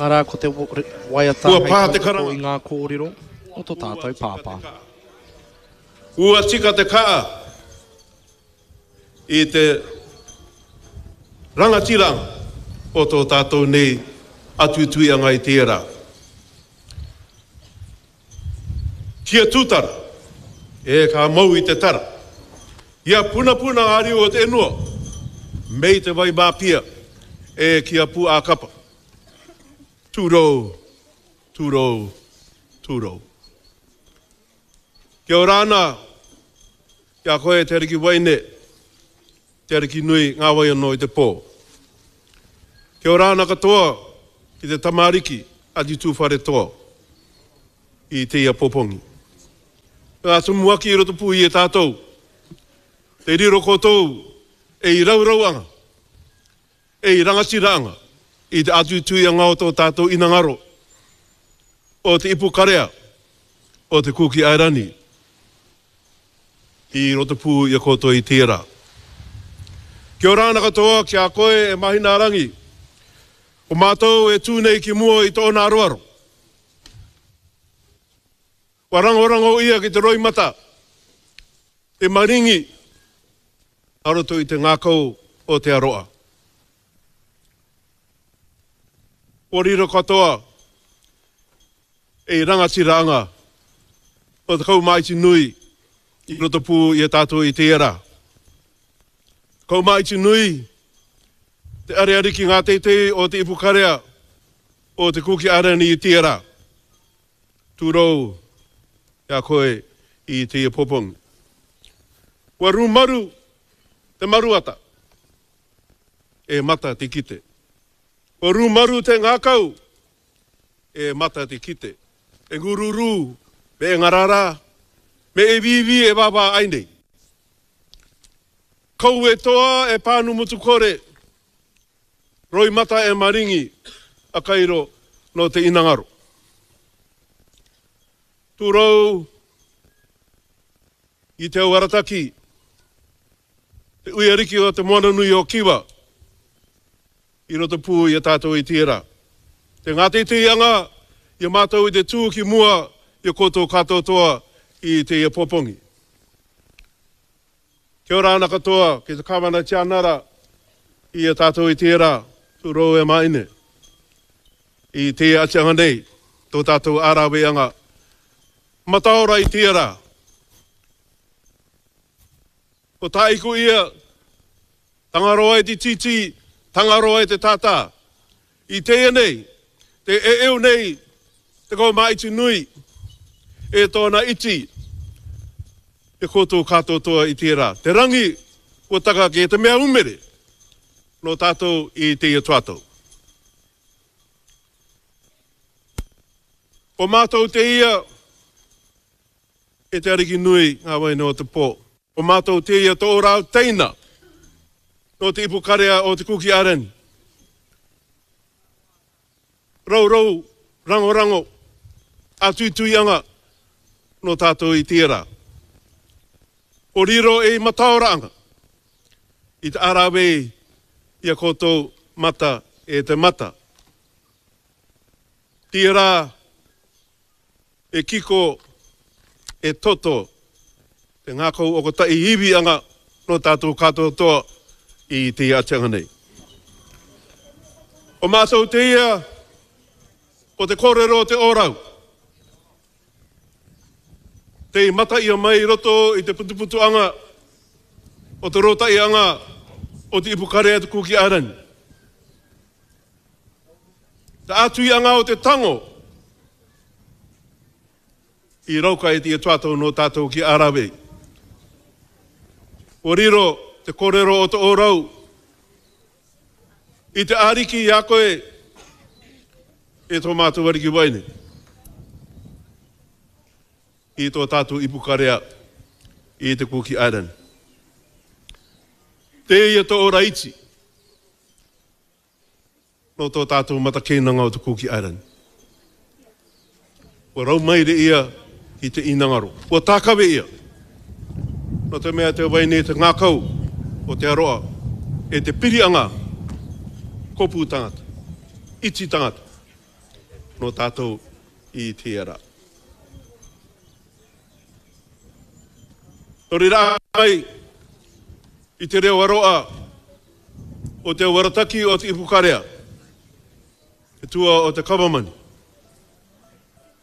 Arā, ko te waiata Kua hei pā te tautoko karanga. i ngā kōrero o tō Ua tātou tika te pāpā. kaa. Ua tika te kaa i te rangatiranga o tō tātou nei atuituianga i tērā. Kia tūtara, e ka mau i te tara. Ia punapuna ngā riu o te enua, mei te wai māpia, e kia pū-ā-kapa. Tūrou, tūrou, tūrou. Kia ora ana ki a koe te Ariki Waine, te Ariki nui ngā wai anō i te pō. Kia ora ana katoa ki te Tama Ariki a Te Tūwharetoa i te ia popongi. Ngā tumuaki i roto pū i e tātou, te riro koutou e i raurau anga, e i rangatira anga i te atuituianga o tō tātou inangaro, o te ipukarea o te Kuki Airani i roto pū i a koutou i tērā. Kia ora ana katoa ki a koe e Mahinaarangi, ko mātou e tū nei ki mua i tōna aroaro. Kua rangorango ia ki te roimata, te maringi a roto i te ngākau o Te Aroa. Kua riro katoa e rangatira anga o te kaumāiti nui i roto pū i a tātou i tērā. Kaumāiti nui te ariariki ngā teitei o te ipukarea o te Kuki Airani i tērā. Tūrou ki a koe i te popongi. Kua rūmaru te maruata e mata te kite. Kua rūmaru te ngākau e mata te kite. E ngururu me e ngarara me e wīwī e wāwā ai nei. Kau e toa e pānu mutukore Roimata e maringi a Kairo no te inangaro. Turou i Te Auarataki, te uiariki o te Moananui o Kiwa, i roto pū i a tātou i tērā. Te ngāteiteianga i a mātou i te tū ki mua i a koutou katoatoa i tēia popongi. Kia ora ana katoa ki te Kawana Tianara i a tatou i tera turou e maine i te atianga nei to tatou araweanga mataora i tera. Ko taiku ia, Tangaroa e te tītī, Tangaroa e te tātā. I teia nei, te eeu nei, te kaumāiti nui, e tōna iti, te koutou kātoatoa i tērā. Te rangi kua taka ki te mea umere nō tātou i teia tuatou. Ko mātou te ia e te Ariki nui ngā waina o te pō. Ko mātou te ia tō rāu teina nō te ipukarea o Te Kuki Airani. Rourou, rangorango, ātuituianga nō tātou i tērā. Ko riro e i mataora anga i te arawei i a koutou mata e te mata. Tērā E kiko, e toto te ngakau o kotahi iwi anga no tatou katoatoa i te atianga nei. Ko matou te ia, ko te korero o te orau. Te i mata ia mai i roto i te putuputu anga o te rotai anga o te ipukarea te Kuki Island. Te atuianga o te tango i rauka e te tuatou no tatou ki Arawei. Kua riro te korero o te orau i te Ariki i a koe e to matou Ariki Waine i to tatou ipukarea i te Kuki Island. Te ia to ora iti. Nō tō tātou matakēnanga o te Kuki Island. Kua raumaire ia ki te inangaro. Kua tākawe ia. Nō te mea te wai nei te ngākau o te aroa e te pirianga kopu tangata, iti tangata. nō tātou i tērā. Nō reira ai i te reo aroa o te awarataki o Te Ipukarea, te tua o te Kawamani,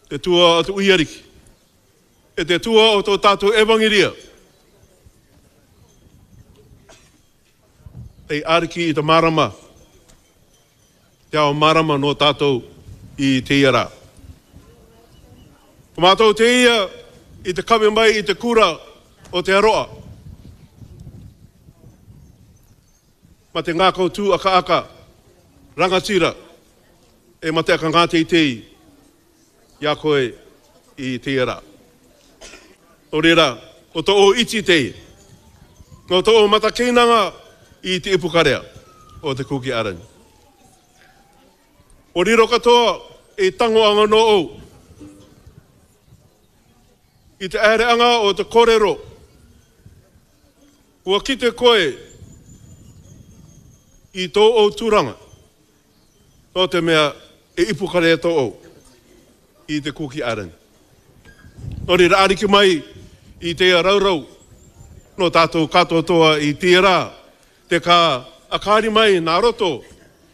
te tua o te Uiariki, e te tua o tō tātou Evangeria, hei āriki i te mārama, te ao mārama nō tātou i tēia rā. Ko mātou te ia i te kawe mai i te kura o Te Aroa. Ma te ngākau tū akaaka, rangatira, e mate aka ngā teitei i a koe i tēia rā. Nō reira, ko tō ō iti te ia. Nō tō ō matakeinanga i te ipukarea o te Kuki Arangi. O riro katoa i tango anga nō ou. I te aereanga o te korero, kua kite koe i tō ou turanga. Nō te mea e ipukarea tō ou i te Kuki Island. Nō reira ariki mai i te raurau nō tātou katoatoa i tērā te ka akaari mai nā roto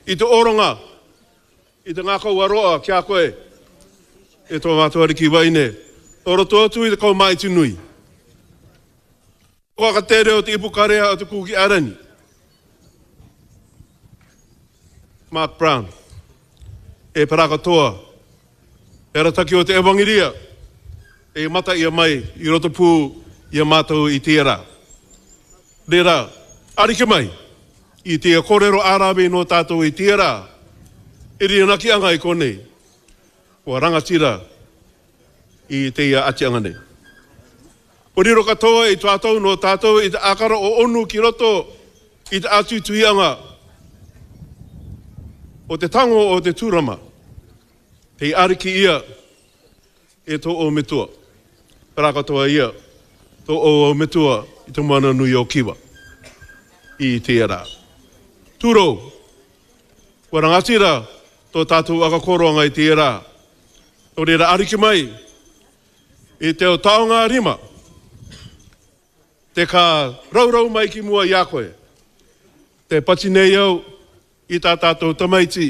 i te oronga i te ngākau aroa ki a koe e tō mātou ariki waine nō roto atu i te kaumāiti nui. Kua ka te reo te ipukarea o te Kuki Island. Mark Brown, E pera katoa, te arataki o te Ewangeria, e mata ia mai i roto pū i a mātou i tērā. Rera, ariki mai, i te korero ā-rāwei nō tātou i tērā, e rīnaki anga i konei, kua rangatira i te ia atianga nei. Kua riro katoa i tātou nō tātou i te ākara o onu ki roto i te ātuituianga o te tango o te tūrama, hei ariki ia e tō ō metua, pērā katoa ia tō ō metua i te moana nui o Kiwa i tērā. Tūrou, kua rangatira tō tātou akakoroanga i tērā, nō reira ariki mai I te o taonga rima, te ka rourou mai ki mua i a koe, te pati nei au i tā tātou tamaiti,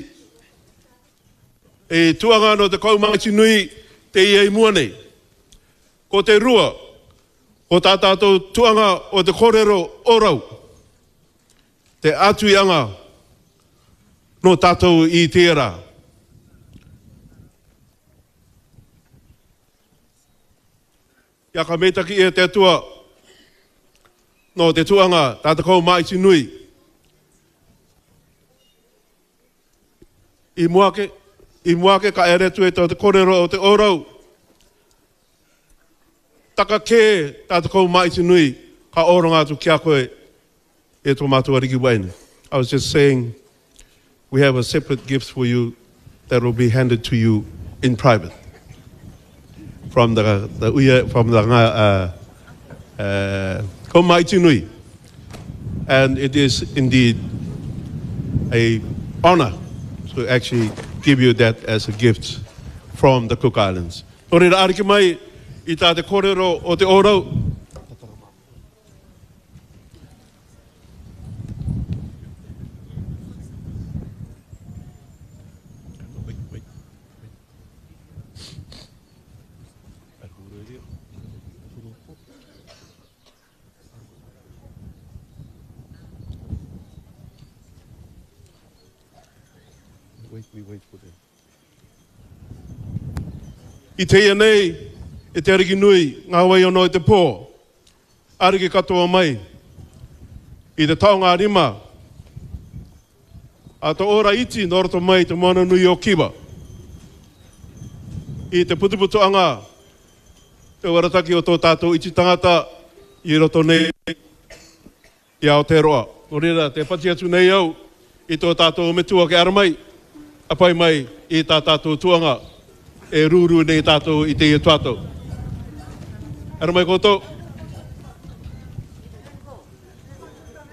i tuanga no te kaumaiti nui te ia i mua nei. Ko te rua, ko tā tātou tuanga o te korero o rau, te atuianga no tātou i tērā. Ia ka meitaki ia te Atua no te tuanga ta te kou maiti nui. I mua ake, i mua ake ka ere atu e te korero o te orau. Taka kē ta te kou maiti nui ka oronga atu ki a koe e tō mātou Ariki Wayne. I was just saying we have a separate gift for you that will be handed to you in private from the, the uia, from the uh, uh, Nui. And it is indeed a honor to actually give you that as a gift from the Cook Islands. Nō reira, ariki mai i tā te kōrero o te ōrau, Wait, we wait for them. I teia nei e te Ariki nui ngā wai ono i te pō, ariki katoa mai i te taonga rima a te ora iti nō roto mai i te moana nui o Kiwa. I te putuputu anga te warataki o tō tātou iti tangata i roto nei I Aotearoa. Nō reira, te whati atu nei au i tō tātou metua kia ara mai, a pai mai i tā tātou tuanga e rūrū nei tātou i tēia tuatou. Ara mai koutou.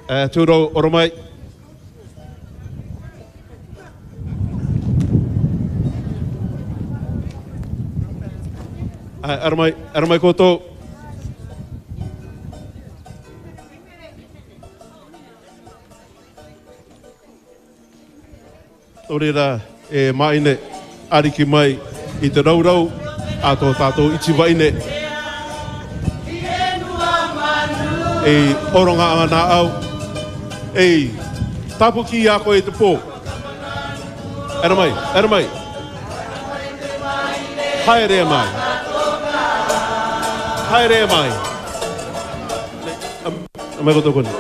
E, tūrou, ora mai. Ara mai, ara mai koutou. Nō reira, e Maine, ariki mai i te rourou a tō tātou iti waine. E oronga ana au, e tapuki i a koe i te pō. Ara mai, ara mai. Haere mai. Haere mai. Mai koutou koni.